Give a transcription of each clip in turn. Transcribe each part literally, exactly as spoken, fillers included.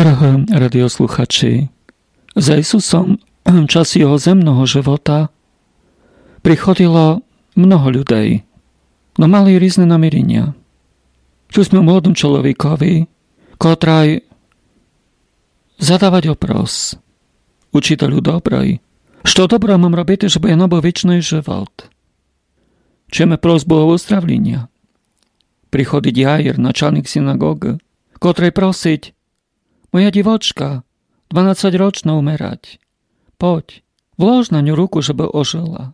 Дорогы радіослухачі, за Ісусом в час його земного живота приходило много людей, но мали різны наміріня. Чули сьме о молодым чоловікові, котрай задавать опрос: Учітелю добрый, што доброго мам робити, жебы я набыв вічный живот? Чуєме просбу о выздравліня. Приходить Яїр, началнік синагогы, котрай просить: Моя дівочка, дванадцятьрочна, умирать. Подь, вложь на ню руку, жебы ожыла.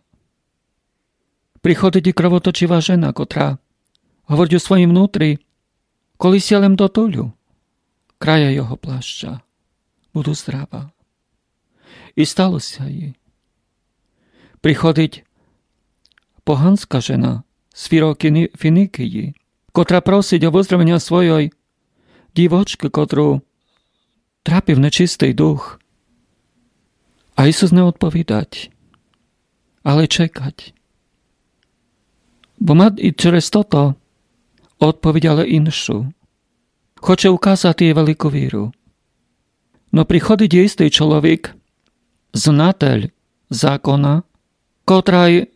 Приходить і кровоточива жена, котра говорить у своім внутрі: Коли ся лем дотулю края його плаща, буду здрава. І стало ся єй. Приходить поганска жена з Фіро-, Кіні-, Фіникії, котра просить о выздравленя свойой дівочкы, котру трапив нечистый дух. А Ісус не одповідать, але чекать. Бо ма і через тото одповідь, але іншу. Хоче указати єй велику віру. Но приходить істый чоловік, знатель закона, котрай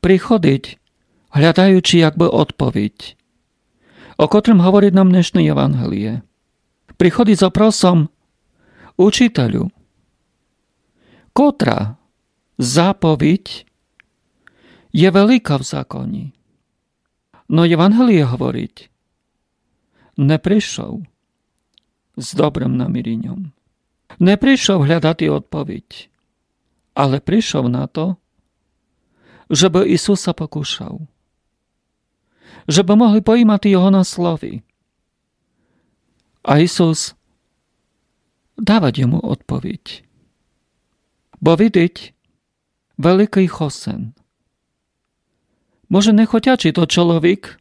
приходить, глядаючи якбы одповідь, о котрым говорить нам днешне Євангеліє. Приходить з опросом: Учітелю, котра заповідь є велика в законі? Но Євангеліє говорить: не пришов з добрым наміріньом. Не пришов глядати одповідь, але пришов на то, жебы Ісуса покушав, жебы могли поїмати його на слові. А Ісус давать йому одповідь. Бо видить великый хосен. Може, не хотячи, то чоловік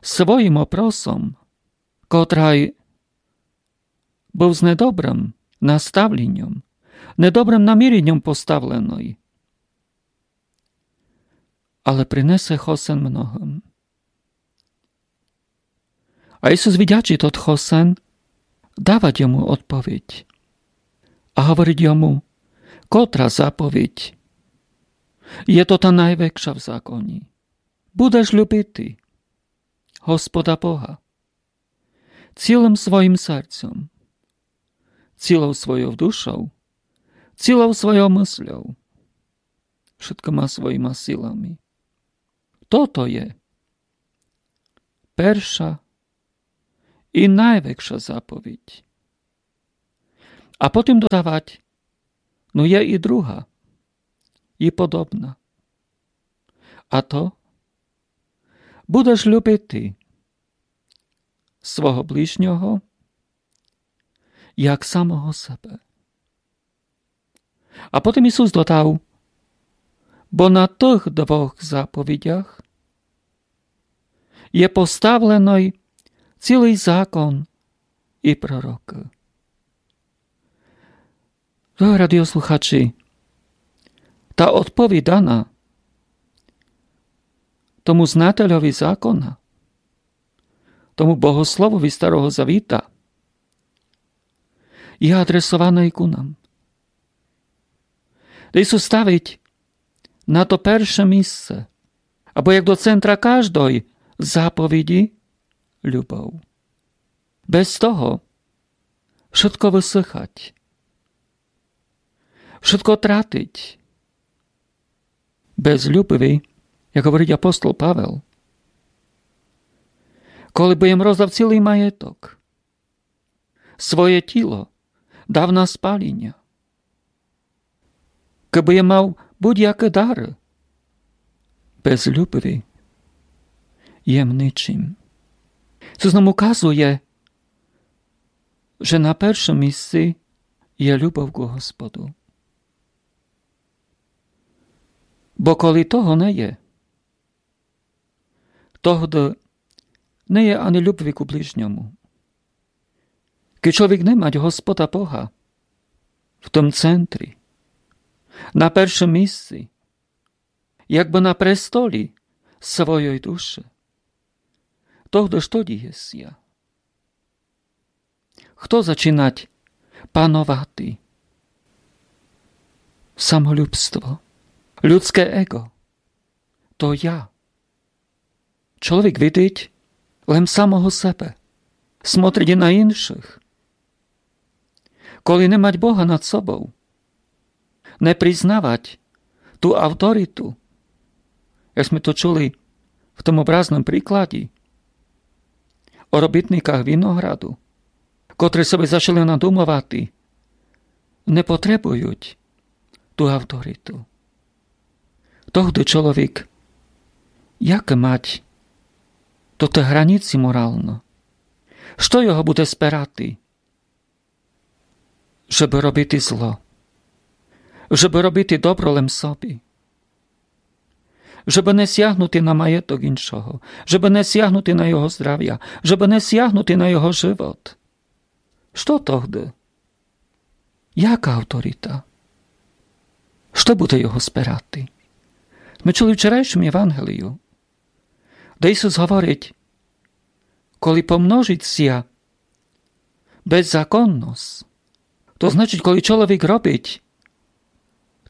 своїм опросом, котрай быв з недобрым наставленьом, недобрым наміреньом поставленый, але принесе хосен многым. А Ісус, видячи тот хосен, давать йому одповідь. А говорить йому, котра заповідь є тота найвекша в законі: Будеш любити Господа Бога цілым своїм серцьом, цілов свойов душов, цілов свойов мысльов, вшыткыма своїма силами. Тото є перша і найвекша заповідь. А потім додавать: Но є і друга, і подобна. А то: Будеш любити свого ближнього як самого себе. А потім Ісус додав: Бо на тых двох заповідях є поставленый цілый закон і пророкы. Дорогы радіослухачі, та одповідь дана тому знательови закона, тому богословови Старого Завіта, є адресованый ку нам. Де Ісус ставить на то перше місце, або як до центра каждой заповіді, любов. Без того вшытко высыхать, вшытко тратить. Без любви, як говорить апостол Павел, коли бы єм роздав цілый маєток, своє тіло дав на спаліня, кыбы єм мав будь-якы дары, без любви єм ничим. Цо нам указує, же на першым місци є любов ку Господу. Бо коли того не є, тогды не є ани любви ку ближньому. Кедь чоловік не мать Господа Бога в тым центрі, на першым місци, якбы на престолі свойой души, тогды што діє ся? Хто зачинать пановати? Самолюбство, людске его, то я. Чоловік видить лем самого себе, смотрить на іншых. Коли не мать Бога над собов, не признавать ту авториту, як сьме то чули в тому образном прикладі о робітниках винограду, котры собі зачали надумовати, не потребують ту авториту. Тогды чоловік як мать тоты границі морално? Што його буде спирати? Жебы робити зло. Жебы робити добро лем собі. Жебы не сягнути на маєток іншого. Жебы не сягнути на його здравя. Жебы не сягнути на його живот. Што тогды? Яка авторита? Што буде його спирати? Мы чули в вчерайшому Євангелію, де Ісус говорить: коли помножить ся беззаконность, то значить, коли чоловік робить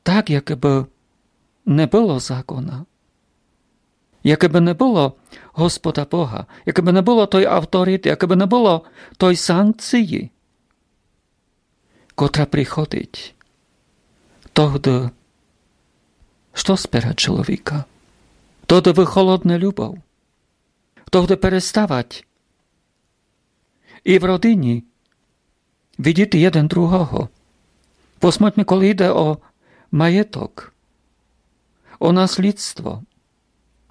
так, якы бы не было закона, якы бы не было Господа Бога, якы бы не было той авториты, якы бы не было той санкциі, котра приходить, тогды што спирать чоловіка? Тогды выхолодне любов. Тогды переставать і в родині видіти єден другого. Посмотрьме, коли йде о маєток, о наслідство,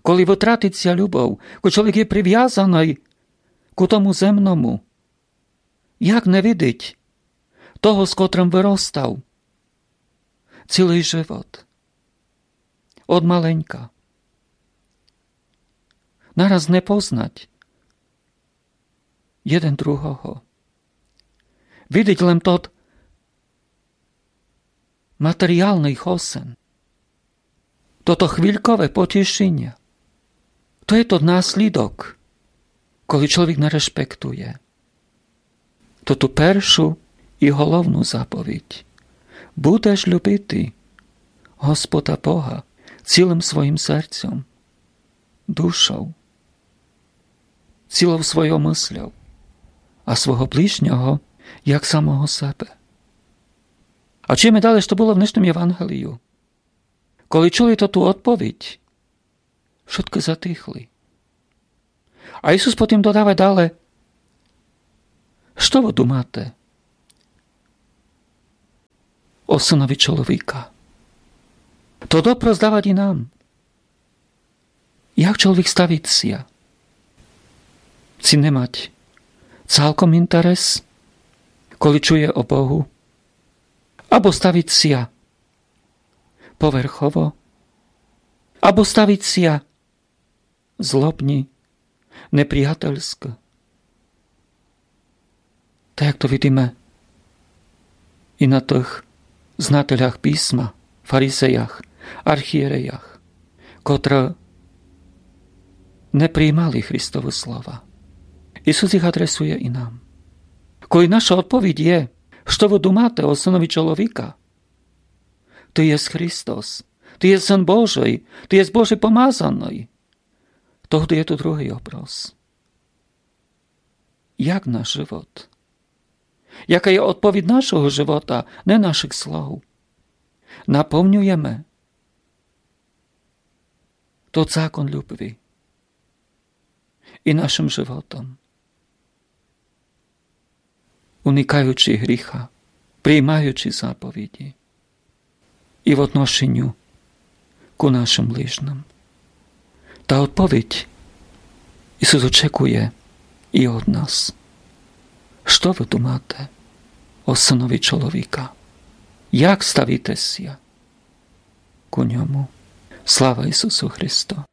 коли вытратить ся любов, коли чоловік є привязаный ку тому земному, як не видить того, з котрым выростав цілый живот? Од маленька. Нараз не познать єден другого. Видить лем тот матеріалный хосен. Тото хвилькове потішіня. То є тот наслідок, коли чоловік не решпектує тоту першу і головну заповідь. Будеш любити Господа Бога цілым своїм серцьом, душов, цілов свойов мысльов, а свого ближнього як самого себе. А чуєме дале, што было в днешному Євангелію. Коли чули тоту одповідь, вшыткы затихли. А Ісус потім додавать дале: што вы думате о Сынови чоловіка? То допрос давать і нам. Як чоловік ставить ся? Ци не мать цалком інтерес, коли чує о Богу? Або ставить ся поверхово? Або ставить ся злобні, неприятельскы? Так як то видиме і на тых знателях писма, фаризеях, архієреях, котры не приймали Христовы слова. Ісус їх адресує і нам. Коли наша одповідь є: што вы думате о Сынови чоловіка? Ты єс Христос, ты єс Сын Божий, ты єс Божий помазаный. Тогды є ту другый вопрос. Як наш живот? Яка є одповідь нашого живота, не нашых слов? Наповнюєме тот закон любви і нашым животом, уникаючи гріха, приймаючи заповіді і в отношеню ку нашым ближным. Та одповідь Ісус очекує і од нас. Што вы думате о Сынови чоловіка? Як ставите ся ку ньому? Слава Ісусу Христу!